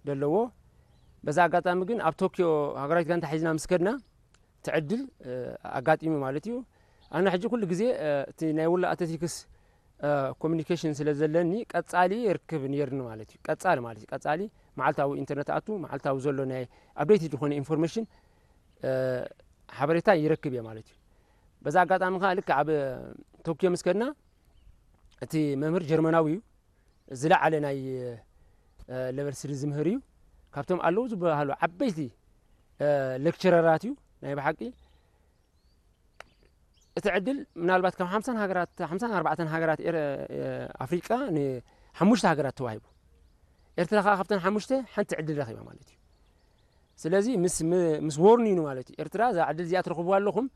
ዘለዎ። በዛ ኣጋጣሚ ግን ኣብ ቶኪዮ ሃገራዊት ጋንታ ሒዝና ምስ ከድና እቲ ዕድል ኣጋጢሙ ማለት እዩ። ኣነ ሕጂ ኩሉ ግዜ እቲ ናይ ወሎ ኣትሌቲክስ ኮሚኒኬሽን ስለ ዘለኒ ቀጻሊ ይርክብ ነይርኒ ማለት እዩ። ቀጻሊ ማለት እዩ። ቀጻሊ መዓልታዊ ኢንተርነት ኣቱ መዓልታዊ ዘሎ ናይ ኣፕዴት ዝኾነ ኢንፎርሜሽን ሓበሬታ ይረክብ እየ ማለት እዩ። በዛ ኣጋጣሚ ከዓ ልክዕ ኣብ ቶኪዮ ምስ ከድና እቲ መምህር ጀርመናዊ እዩ። ዝለዓለ ናይ ለቨል ስሪ ዝምህር እዩ። ካብቶም ኣለዉ ዝበሃሉ ዓበይቲ ሌክቸረራት እዩ። ናይ ብሓቂ እቲ ዕድል ምናልባት ካብ ሓምሳን ሃገራት ሓምሳን ኣርባዕተን ሃገራት ኤረ- ኣፍሪቃ ንሓሙሽተ ሃገራት ተዋሂቡ። ኤርትራ ከዓ ካብተን ሓሙሽተ ሓንቲ ዕድል ረኺባ ማለት እዩ። ስለዚ ምስ ም- ምስ ወርኒኑ ማለት እዩ። ኤርትራ እዛ ዕድል እዚኣ ትረኽብዋ ኣለኹም፣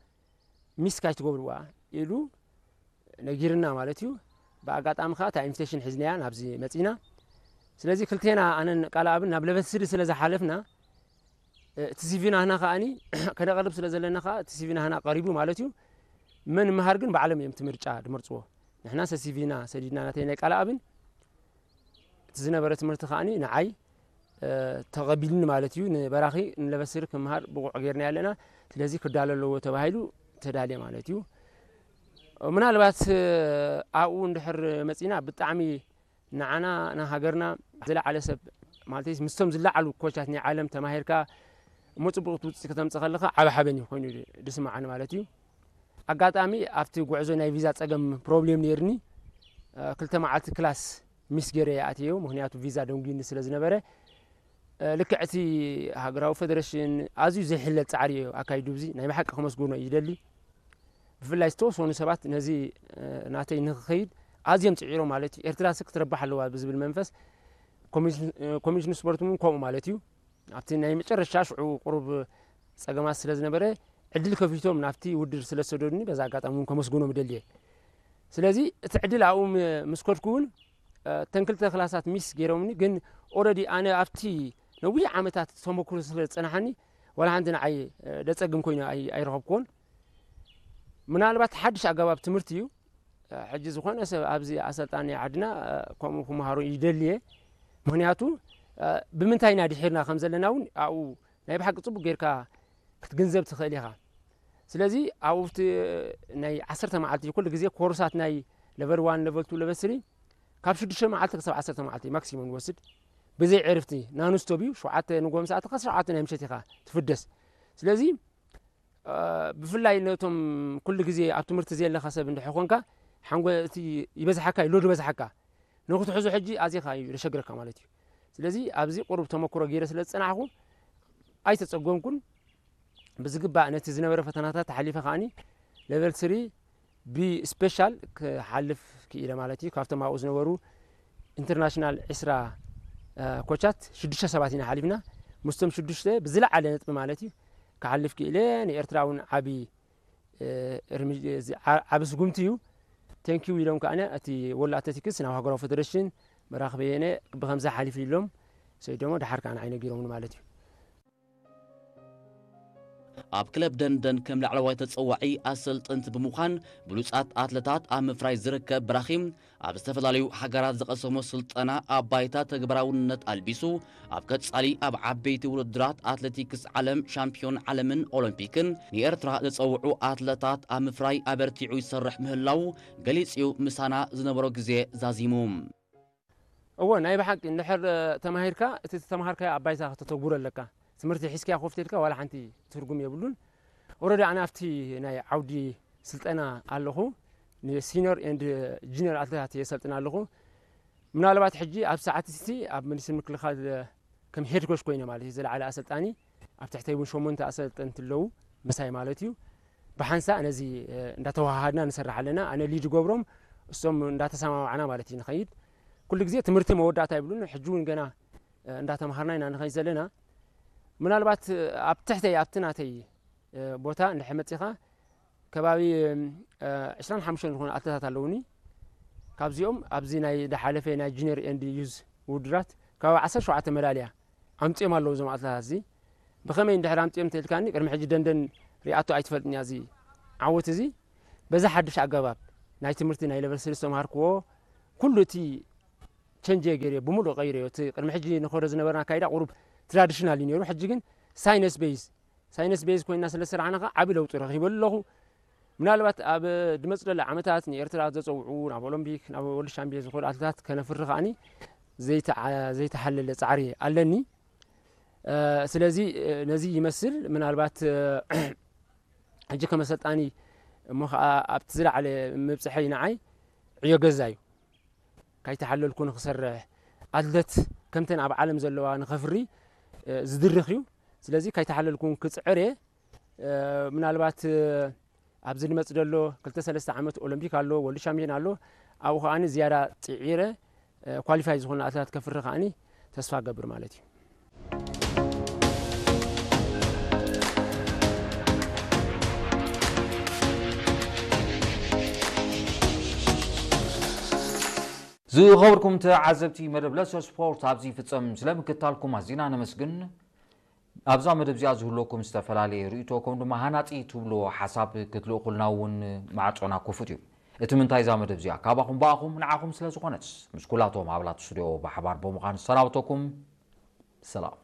ሚስ ካይትገብርዋ ኢሉ ነጊርና ማለት እዩ። ብኣጋጣሚ ከዓ እታ ኢንቪቴሽን ሒዝናያ ናብዚ መፂና። ስለዚ ክልቴና ኣነን ቃልኣብን ናብ ለቨል ስሪ ስለ ዝሓለፍና እቲ ሲቪ ናህና ከዓኒ ከነቐርብ ስለ ዘለና ከዓ እቲ ሲቪ ናህና ቀሪቡ ማለት እዩ። መን ምሃር ግን ባዕሎም እዮም እቲ ምርጫ ድመርፅዎ። ንሕና ሰ ሲቪና ሰዲድና ናተይ ናይ ቃልኣብን እቲ ዝነበረ ትምህርቲ ከዓኒ ንዓይ ተቐቢልኒ ማለት እዩ። ንበራኺ ንለበስሪ ክምሃር ብቑዕ ጌርና ኣለና። ስለዚ ክዳሎ ኣለዎ ተባሂሉ ተዳልየ ማለት እዩ። ምናልባት ኣብኡ እንድሕር መፂና ብጣዕሚ ንዓና ንሃገርና ዝለዓለ ሰብ ማለት ምስቶም ዝለዓሉ ኮቻት ናይ ዓለም ተማሂርካ እሞ ፅቡቅ ውፅኢት ከተምፅእ ከለካ ዓቢ ሓበን እዩ ኮይኑ ድስማዓኒ ማለት እዩ። ኣጋጣሚ ኣብቲ ጉዕዞ ናይ ቪዛ ፀገም ፕሮብሌም ነይርኒ። ክልተ መዓልቲ ክላስ ሚስ ገይረ ኣትየዮ፣ ምክንያቱ ቪዛ ደንጉዩኒ ስለ ዝነበረ። ልክዕ እቲ ሃገራዊ ፌደሬሽን ኣዝዩ ዘይሕለል ፃዕሪ እዩ ኣካይዱ። እዚ ናይ ብሓቂ ከመስግኖ ይደሊ። ብፍላይ ዝተወሰኑ ሰባት ነዚ ናተይ ንክኸይድ ኣዝዮም ፅዒሮም ማለት እዩ። ኤርትራ ስ ክትረባሕ ኣለዋ ብዝብል መንፈስ ኮሚሽን ስፖርት እውን ከምኡ ማለት እዩ። ኣብቲ ናይ መጨረሻ ሽዑ ቁሩብ ፀገማት ስለ ዝነበረ ዕድል ከፊቶም ናብቲ ውድድር ስለ ዝሰደዱኒ በዛ ኣጋጣሚ እውን ከመስግኖም ይደልየ። ስለዚ እቲ ዕድል ኣብኡ ምስ ከድኩ እውን እተን ክልተ ክላሳት ሚስ ገይሮምኒ። ግን ኦረዲ ኣነ ኣብቲ ነዊሕ ዓመታት ተመክሮ ስለ ዝፀናሓኒ ዋላ ሓንቲ ንዓይ ደፀግም ኮይኑ ኣይረኸብኩዎን። ምናልባት ሓድሽ ኣገባብ ትምህርቲ እዩ። ሕጂ ዝኾነ ሰብ ኣብዚ ኣሰልጣኒ ዓድና ከምኡ ክመሃሩ ይደልየ። ምክንያቱ ብምንታይ ኢና ድሒርና ከም ዘለና እውን ኣብኡ ናይ ብሓቂ ፅቡቅ ጌርካ ክትግንዘብ ትኽእል ኢኻ። ስለዚ ኣብኡ ናይ ዓሰርተ መዓልቲ ኩሉ ግዜ ኮርሳት ናይ ለቨል ዋን ለቨል ቱ ለቨል ስሪ ካብ ሽዱሽተ መዓልቲ ክሳብ ዓሰርተ መዓልቲ ማክሲሙም ንወስድ። ብዘይ ዕርፍቲ ናንስቶብ እዩ። ሸውዓተ ንጎም ሰዓት ካብ ሸውዓተ ናይ ምሸት ኢኻ ትፍደስ። ስለዚ ብፍላይ ነቶም ኩሉ ግዜ ኣብ ትምህርቲ ዘየለካ ሰብ እንድሕር ኮንካ ሓንጎ እቲ ይበዝሓካ እዩ፣ ሎድ ይበዝሓካ። ንክትሕዞ ሕጂ ኣዚኻ እዩ ዘሸግረካ ማለት እዩ። ስለዚ ኣብዚ ቁሩብ ተመክሮ ገይረ ስለ ዝጸናሕኩ ኣይተጸገምኩን። ብዝግባእ ነቲ ዝነበረ ፈተናታት ሓሊፈ ከዓኒ ለቨል ስሪ ብስፔሻል ክሓልፍ ክኢለ ማለት እዩ። ካብቶም ኣብኡ ዝነበሩ ኢንተርናሽናል ዕስራ ኮቻት ሽዱሽተ ሰባት ኢና ሓሊፍና። ምስቶም ሽዱሽተ ብዝለዓለ ነጥቢ ማለት እዩ ክሓልፍ ክኢለ። ንኤርትራ እውን ዓቢ ዓቢ ስጉምቲ እዩ። ቴንኪዩ ኢሎም ከዓነ እቲ ወሎ ኣትሌቲክስ ናብ ሃገራዊ ፌደሬሽን መራኽቢ የነ ብከምዚ ሓሊፉ ኢሎም ሰይዶሞ ድሓር ከዓነ ኣይነጊሮምኒ ማለት እዩ። ኣብ ክለብ ደንደን ከም ላዕለዋይ ተጸዋዒ ኣሰልጠንቲ ብምዃን ብሉጻት ኣትለታት ኣብ ምፍራይ ዝርከብ ብራኺ ኣብ ዝተፈላለዩ ሃገራት ዝቐሰሞ ስልጠና ኣብ ባይታ ተግባራውነት ኣልቢሱ ኣብ ቀጻሊ ኣብ ዓበይቲ ውድድራት ኣትሌቲክስ ዓለም ሻምፒዮን ዓለምን ኦሎምፒክን ንኤርትራ ዘጸውዑ ኣትለታት ኣብ ምፍራይ ኣበርቲዑ ይሰርሕ ምህላው ገሊጹ ምሳና ዝነበሮ ግዜ ዛዚሙ። እወ ናይ ብሓቂ እንድሕር ተማሂርካ እቲ ዝተማሃርካዮ ኣብ ባይታ ከተተግብሮ ኣለካ። ትምህርቲ ሒዝካያ ኮፍ ተልካ ዋላ ሓንቲ ትርጉም የብሉን። ኦረዲ ኣነ ኣብቲ ናይ ዓውዲ ስልጠና ኣለኹ። ንሲኒዮር ኤንድ ጁኒየር ኣትሌታት የሰልጥን ኣለኹ። ምናልባት ሕጂ ኣብ ሰዓት እቲ ኣብ ሚኒስትሪ ምክልኻል ከም ሄድ ኮች ኮይነ ማለት እዩ ዝለዓለ ኣሰልጣኒ ኣብ ትሕተይ እውን ሸሞንተ ኣሰልጠንቲ ኣለዉ ምሳይ ማለት እዩ። ብሓንሳእ ነዚ እንዳተዋሃሃድና ንሰርሕ ኣለና። ኣነ ሊድ ገብሮም እሶም እንዳተሰማማዕና ማለት እዩ ንኸይድ። ኩሉ ግዜ ትምህርቲ መወዳእታ ይብሉን ሕጂ እውን ገና እንዳተማሃርና ኢና ንኸይድ ዘለና። ምናልባት ኣብ ትሕተይ ኣብቲ ናተይ ቦታ እንድሕር መፂኻ ከባቢ ዕስራን ሓሙሽተን ዝኾኑ ኣትለታት ኣለውኒ። ካብዚኦም ኣብዚ ናይ ዝሓለፈ ናይ ጁኒየር ኤንድ ዩዝ ውድድራት ከባቢ ዓሰርተ ሸውዓተ መዳልያ ኣምፂኦም ኣለዉ እዞም ኣትለታት እዚ። ብኸመይ እንድሕር ኣምፂኦም እንተልካኒ ቅድሚ ሕጂ ደንደን ሪኣቶ ኣይትፈልጥን እያ እዚ ዓወት እዚ። በዚ ሓድሽ ኣገባብ ናይ ትምህርቲ ናይ ለቨል ስሪ ዝተምሃርክዎ ኩሉ እቲ ቸንጅ ገይረ ብምሉእ ቀይረ እቲ ቅድሚ ሕጂ ንኸዶ ዝነበረና ኣካይዳ ቁሩብ ትራዲሽናል እዩ ነይሩ። ሕጂ ግን ሳይነስ ቤዝ ሳይነስ ቤዝ ኮይና ስለ ዝሰራሕና ከዓ ዓቢ ለውጢ ረኺበሉ ኣለኹ። ምናልባት ኣብ ድመፅ ዘሎ ዓመታት ንኤርትራ ዘፀውዑ ናብ ኦሎምፒክ ናብ ወርልድ ሻምፒዮን ዝኾኑ ኣትሌታት ከነፍሪ ከዓኒ ዘይተዓ- ዘይተሓለለ ፃዕሪ ኣለኒ። ስለዚ ነዚ ይመስል። ምናልባት ሕጂ ከመሰልጣኒ እሞ ከዓ ኣብቲ ዝለዓለ ምብፅሐይ ንዓይ ዕዮ ገዛ እዩ። ካይተሓለልኩ ንክሰርሕ ኣትለት ከምተን ኣብ ዓለም ዘለዋ ንኸፍሪ ዝድርኽ እዩ። ስለዚ ካይተሓለልኩን ክፅዕር እየ። ምናልባት ኣብዚ ዝመፅ ዘሎ ክልተ ሰለስተ ዓመት ኦሎምፒክ ኣሎ፣ ወርልድ ሻምፒዮን ኣሎ። ኣብኡ ከዓኒ ዝያዳ ፅዒረ ኳሊፋይ ዝኾነ ኣትላት ከፍሪ ከዓኒ ተስፋ ገብር ማለት እዩ። ዝኸበርኩም ተዓዘብቲ መደብ ለሶ ስፖርት ኣብዚ ይፍጸም። ስለ ምክታልኩም ኣዚና ነመስግን። ኣብዛ መደብ እዚኣ ዝህልወኩም ዝተፈላለየ ርእይቶ ከም ድማ ሃናጺ ትብልዎ ሓሳብ ክትልእኹልና እውን ማዕጾና ክፉት እዩ። እቲ ምንታይ እዛ መደብ እዚኣ ካባኹም ብኣኹም ንዓኹም ስለ ዝኾነትስ ምስ ኩላቶም ኣባላት ስቱድዮ ብሓባር ብምዃን ዝሰናብተኩም ሰላም።